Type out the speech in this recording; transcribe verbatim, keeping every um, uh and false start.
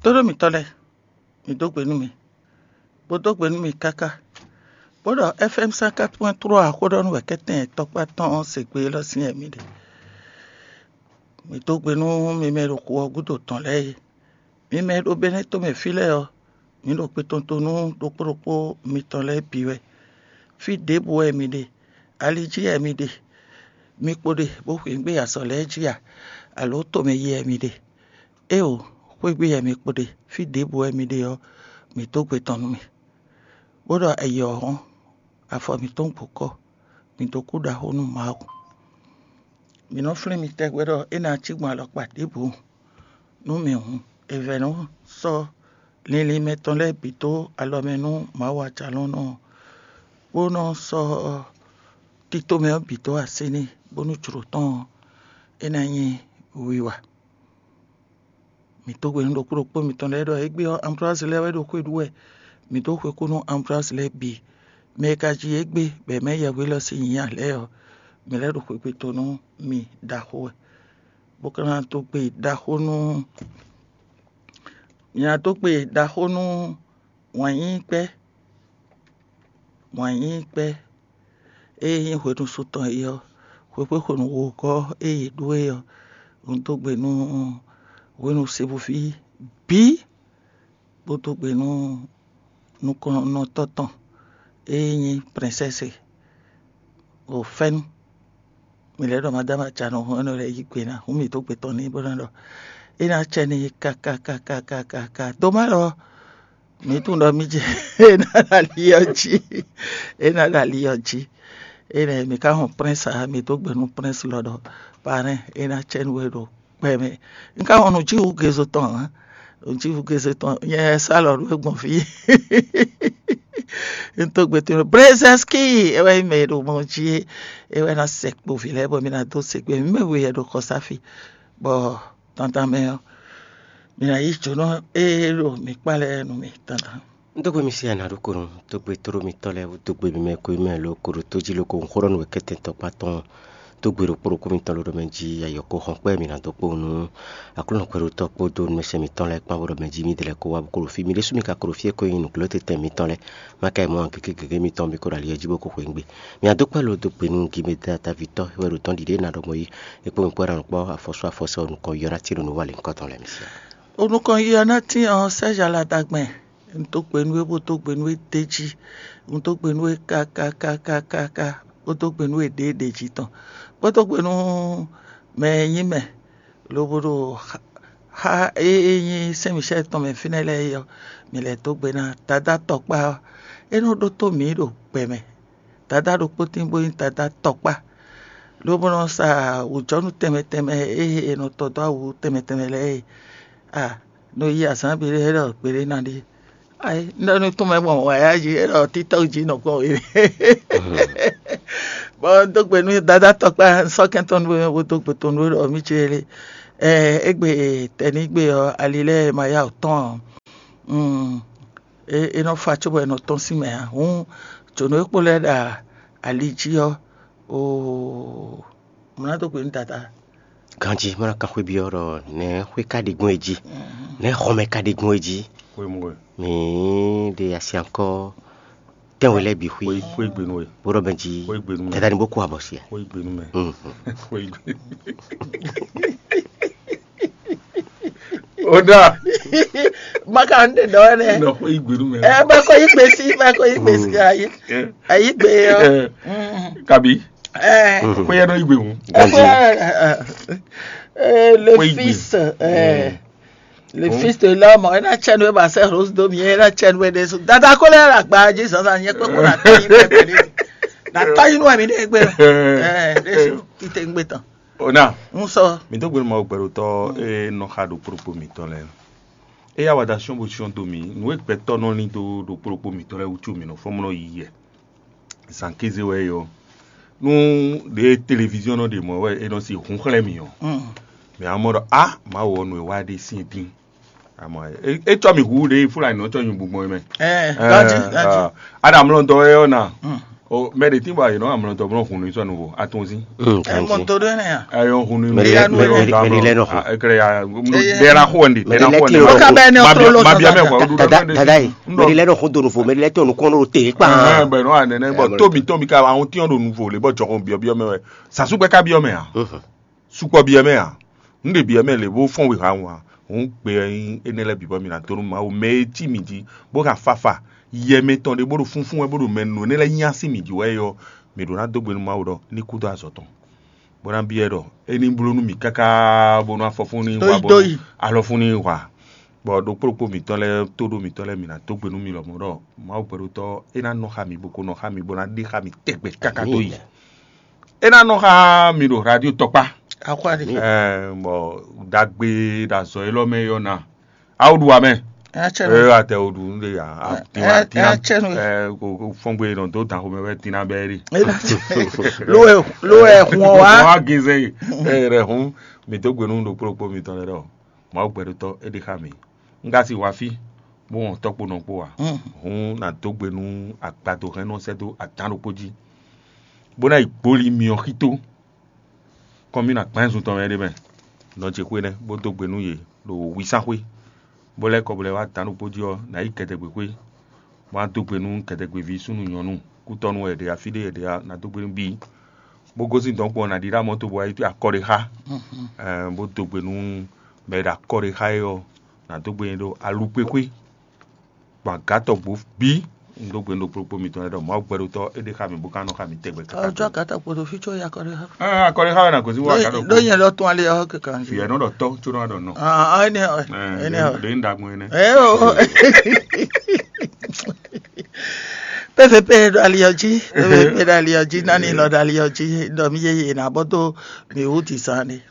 Tóɖó mǐtɔn lɛ́ɛ, mǐ dó gbe nú mi, bó dó gbe nú mi káká, bó ɖɔ F M cent quatre point trois xó ɖɔ nú wɛ̌kɛ́tɛn tɔkpá tɔn ɔ́ se gbe élɔ́ sín wɛ mǐ ɖe. Mǐ dó gbe nú mi mɛ e ɖo xu ɔ́ gúdo tɔn lɛ́ɛ é. Mi mɛ e ɖo Benɛ́ tomɛ fí lɛ́ɛ ɔ́, mǐ ɖo kpetɔntɔn nú ɖokpó ɖokpó mitɔn lɛ́ɛ bǐ wɛ. Fí ɖěbǔ wɛ mi ɖe, ali jí wɛ mi ɖe, mi kpo ɖe bó xweyǐgbe azɔ̌ lɛ́ɛ jí a, alǒ tomɛ yi wɛ mi ɖe? Éeǒ, xwé gbe wɛ mi kpo ɖe, fí ɖěbǔ wɛ mi ɖe ɔ́, mǐ dó gbe tɔn nú mi, bó ɖɔ ayǐ ɔ́ hɔ́n, afɔ mǐtɔn gbo kɔ́, mǐ dó kú ɖaxó nú Mawu. Mǐ nɔ flín mi tɛgbɛ ɖɔ é ná cí gbɔn alɔkpa ɖěbǔ nú mǐ hǔn. È vɛ̌ nɔ sɔ́ linlin mɛtɔn lɛ́ɛ bǐ dó alɔ mɛ nú Mawu Ajalɔ̌nlɔn ɔ́, bó nɔ sɔ́ tito mɛ ɔ́ bǐ dó así n'i, bónú jlǒ tɔn ɔ́, é ná nyí wiwa. Mǐ dó gbe nú ɖokpó ɖokpó mitɔn lɛ́ɛ ɖɔ égbé ɔ́, Anblɔ́azi lɛ́ɛ wɛ ɖo xwé ɖu wɛ. Mǐ dó xwe kú nú Anblɔ́azi lɛ́ɛ bǐ. Mɛ e ka ji égbé bɔ è mɛ yɛhweɖɔ sín nyǐnyá lɛ́ɛ ɔ́, mǐ lɛ́ ɖo xwegbe to nú mi ɖaxó wɛ, bó ka ná dó gbe ɖaxó nú mǐ ná dó gbe ɖaxó nú wǎn yíyí kpɛ́, wǎn yíyí kpɛ́ e nyí hwenu su tɔn é ɔ́, xwexwé xwenu wogɔ́ e yě ɖó é ɔ́, un dó gbe nú hwenu Sebuví bǐ, bó dó gbe nú nukɔnnɔtɔ́ tɔn e nyí prinsɛ́si ɖo fɛ́nú. Mi lɛ́ ɖɔ Madáma Janɔ hɔn énɛ́ lɛ́ɛ yí gbe ná, hǔn mǐ dó gbe tɔn n'i bó ná ɖɔ é ná cɛ n'i káká káká káká ká. Dó má ɖɔ mǐ tunwun ɖɔ mí jɛ é ná ɖo ali ɔ́ jí, é ná ɖo ali ɔ́ jí. Énɛ́ mǐ ka hɔn prɛ́nsi ǎ, mǐ dó gbe nú prɛ́nsi lɔ ɖɔ parɛ́n é ná cɛ nú we ɖo kpɛ mɛ. Un ka hɔn nǔjíwǔ gezo tɔn ǎ, nǔjíwǔ gezo tɔn nyɛ sá lɔ nú we gbɔn fí. Un tó gbe tɔn Brezɛnski é wɛ nyí mɛ e ɖo mɔ jí é, é wɛ ná sɛ kpo vǐ lɛ́ɛ bɔ mí ná dó se gbe mǐ mɛ we wɛ ɖo xɔsáfi, bɔ dandan mɛ ɔ́, mǐ ná yí jǒnɔ e ɖo mǐ kpá lɛ́ɛ nú mì dandan. Un dó gbe mi sí ana ɖokpónɔ, dó gbe tóɖó mitɔn lɛ́ɛ, dó gbe mi mɛ ko mɛ ló ko ɖo tó jí ló ko un xó ɖɔ nú wɛ kɛ́tɛn tɔkpá tɔn, dó gbe ɖokpó ɖokpó mitɔn ló ɖɔ mɛ jí ayɔ ko hɔn kpɛ́ mi ná dó kpó nú Aklúnɔ kpɛɖotɔ́ kpódó nǔmɛsɛn mitɔn lɛ́ɛ kpán bó ɖɔ mɛ jí mi dlɛ́ ko wá bó ko ɖo fí mi ɖésú mi ka ko ɖo fí e ko nyí nǔglɔ́tɛn mitɔn lɛ́ɛ. Má ka yi mɔ gěgé gěgé mitɔn mi ko ɖo ali ɔ́ jí bó ko xweyǐgbe. Mi ná dó kpɛ́ lo dó gbe nú Gimedata ví tɔ́ wɛ ɖo tɔ́n ɖiɖe ná ɖɔ mɔ yí. È kpó mi kpɔ́ ná nukpɔ́ afɔsú afɔsɛ ɔ́ nukɔn yɔ ná tín ɖo nǔ wa lě nukɔn tɔn lɛ́ɛ mi sí. Onukɔn yi ɔ́ ná tín ɔ́ sɛ́ yǎ la ɖagbe. Un dó gbe nú we bó dó gbe nú we d'é jí. Un dó gbe nú we kákákákáká, bó dó gbe nú we ɖěɖě jí tɔn, bó dó gbe nú mɛ e nyí mɛ, lobo ɖo xá e e nyí Sɛ́n Mǐsɛ́ɛ tɔn mɛ fínɛ́ lɛ́ɛ é ɔ́, mǐ lɛ́ dó gbe ná Dadá tɔkpá ɔ́. É nɔ ɖótó mǐ ɖo gbɛ mɛ. Dadá ɖokpó tín bó nyí Dadá tɔkpá, lobo nɔ sa wǔjɔnú tɛnmɛ tɛnmɛ e è nɔ tɔ dó awu tɛnmɛ tɛnmɛ lɛ́ɛ é. A nɔ yi azǎn gbeɖé é ɖɔ gbeɖé ná ɖe. Ayi, un ɖɔ nú tɔn mɛ gbɔn wǎyá jí, é ɖɔ títɔ́ jí nɔ gbɔn wě. Bɔ un dó gbe nú Dadá tɔkpá sɔ́kɛn tɔn nú bó dó gbe tɔn nú ɖɔ mí ce lé. Ɛ égbé tɛnígbe ɔ́, ali lɛ́ɛ ma yá wǔ tɔn ɔ́, é é nɔ fa cóbɔ è nɔ tɔ́n sín mɛ ǎ. Hǔn jǒnɔ e kpo lɛ́ɛ ɖo ali jí ɔ́, oo, mǐ ná dó gbe nú Dadá. Ganjí má ná kan xwé byɔ́ ɖɔ nɛ̌ xwé ka ɖe gbɔn é jí, nɛ̌ xɔmɛ ka ɖe gbɔn é jí. Xwé mɔ ɛ. Mǐ ɖe asi ankɔ tɛ́nwe lɛ́ɛ bǐ xwí. Xwé xwé gbe nú ɛ. Bó ɖɔ bɛn jí. Xwé gbe nú mɛ. Dada ni bó kú abɔ si ɛ. Xwé gbe nú mɛ. Mhm. Xwé gbe. O da. Maka n ɖe dɔ ɛnɛ. Nɔ xwé gbe nú mɛ. Ɛ bá kɔ yí gbe sí, bá kɔ yí gbe sí ayé. Ɛ. Ayé gbe yɔ. Ɛ. Kabi. Ɛ. Xwé yɛ nɔ yí gbe hùn. Ganji. Ɛ, le Xwé gbe. Fils, ɛ. Le fils de l'homme, ena tsɛnu e ba sɛ rose do mi, ena tsɛnu e ɖe su. Dada ko lɛ la gba ji zanzan nyɛ kpekpe na tɔ yi nɛ gbe de. Na tɔ yi nɛ mi ne gbe. Eh, ɖe su tite gbe tɔn. Ona. N sɔ. Mi do gbe ma gbɛɖotɔ e nɔ xa ɖo kpokpo mi tɔn lɛ. E ya wa da sɔn bo sɔn do mi. Nu e gbɛtɔ nɔ lin do ɖo kpokpo mi tɔn lɛ wutu mi nɔ fɔmlɔ yi yɛ. Zan kéze wɛ yɔ. Nú ɖe téléviziɔn nɔ ɖe mɔ̌ wɛ é nɔ si hun xlɛ́ mì ɔ́, mǐ á mɔ ɖɔ a Mawu ɔ́ nɔ e wá ɖe sín dín. Amɔ é tsɔ mì hu ɖe Fulani nɔ tsɔ nyi bugbɔn mɛ. Ɛ, ganji, ganji. Adam lɔ dɔ wɛ ɔ́ na. O mɛ ɖe tín bɔ ayǐ nɔ amlɔ tɔ blɔ hun ní sɔ nuvo atún sí. Mm, Ẹ kanjí. Mɔ tó ɖó ɛnɛ ya. Ayɔ hun ní Mɛ ɖe lɛ- mɛ ɖe- mɛ ɖe lɛ nɔ xo. Ɛkɛlɛ ya Eye. Dɛra xo ɛndi Mɛ ɖe dɛra lɛ xo ti ɛndi. Ó ká bɛ ní Mabia- ɔtó ló mabia sɔn mɛ kɔ. Dada dada yi. Mɛ ɖe lɛ nɔ xo do nufo, mɛ ɖe lɛ tɔ nukɔn ɖo te kpa. Bɛ nɔ anɛ nɛ bɔ Ɛmɔ. Tómi tómi ka àwọn tí ɔn ɖo nuvo lé bɔ jɔxɔ biɔ biɔ mɛ wɛ. Sasúgbɛ ká biɔ mɛ a. Mhm. Sukpɔ biɔ mɛ a. N ɖe biɔ mɛ lě bó fɔn wěha ŋu a. Hǔn gbe ɛ nyí énɛ́ lɛ́ɛ bǐ bɔ mi ná dó nú Mawu mɛ e cí mǐ jí bó hɛn afafa yɛ mɛtɔn ɖé bó ɖo fúnfún wɛ bó ɖo mɛ nǔ énɛ́ lɛ́ɛ nyí así mǐ jí wɛ é ɔ́, mǐ ɖó ná dó gbe nú Mawu ɖɔ ní kú dó azɔ̌ tɔn, bó ná byɔ́ ɛ ɖɔ é ní bló nú mǐ káká bónú afɔfún ní Dó wá yi, bónú dó yi. Alɔfún ní wá. Bɔ ɖokpó ɖokpó mǐtɔn lɛ́ɛ tó ɖó mǐtɔn lɛ́ɛ mǐ ná dó gbe nú mi lɔmɔ̌ ɖɔ Mawu gbɛɖotɔ́ é ná nɔ xá mǐ bó ko nɔ xá mǐ bó ná ɖe xá mǐ tɛgbɛ káká dó yi. É ná nɔ xá mi ɖo radio tɔkpá. Akwáɖi. Ɛɛ, bɔ dagbe ɖo azɔ élɔ́ mɛ yɔ na. Awu ɖu amɛ. Atsɛ nu. Ɛ atɛ o ɖu nde ya. Ɛ, ɛ, atsɛ nu. Ɛ ko ko fɔngbe nɔ do dan xomɛ wɛ tina bɛ ri. Ló ɛ ló ɛ hun ɔ wá. Wa geze. Ɛ rɛ hun mi do gbenu ɖo kplokplo mi tɔn lɛ dɔ. Mawu gbɛɖotɔ e ɖi xa mi. N ka si wa fi bó wɔn tɔkpo nɔ kpo wa. Hun na do gbenu agbado hɛn nɔ sɛ do adan ɖokpo jí. Bó ná yi gboli mi ɔ xito. Kɔmí na gbɛn zun tɔn mɛ ɖé mɛ. Nɔ ce xwé nɛ́ bó dó gbe nú yě ɖo wísánxwé, bó lɛ́ kɔ bó lɛ́ wá dǎn ɖokpó jí ɔ́, nǎ yi gɛdɛgbexwé, bó wá dó gbe nú gɛdɛgbeví súnnu nyɔ̌nu kútɔ́nú wɛ è ɖe afí ɖé è ɖe ná dó gbe nú bíi, bó gosín dɔ̌nkpɔ ɔ́, nǎ ɖíɖá mɔ̌ to bó wá yi akɔ ɖé xá, ɛɛ, bó dó gbe nú mɛ e ɖo akɔ ɖé xá é ɔ́, nǎ dó gbe nyi ɖo alukpéxwé. Gbɔn agǎtɔgbó bí un dó gbe un ɖo kplokpó mitɔn lɛ́ɛ ɖɔ Mawu gbɛɖotɔ́ é ɖe xá mì bó ka nɔ xá mì tɛgbɛ káká. Ɔjɔ agǎtɔgbó ɖo fí có ya kɔ ɖe xá. Ɛ akɔ ɖe xá wɛ na gosín wá agǎtɔgbó. Ɖó nyɛ lɔ tún alé ɔ́ kɛkɛ. Fìyɛ nɔ ɖɔ tɔ́ có nɔ wá ɖɔ nɔ. Ah, ah, ɛnɛ ɔ, ɛnɛ ɔ. Ɖe ń ɖagbɔn ɛnɛ. Ɛ o. Pépépé ɖo ali ɔ jí, pépépé ɖo ali ɔ jí, nani lɔ ɖo ali ɔ jí, ɖɔ mi yeye na bɔ dó mi wú ti zan ne.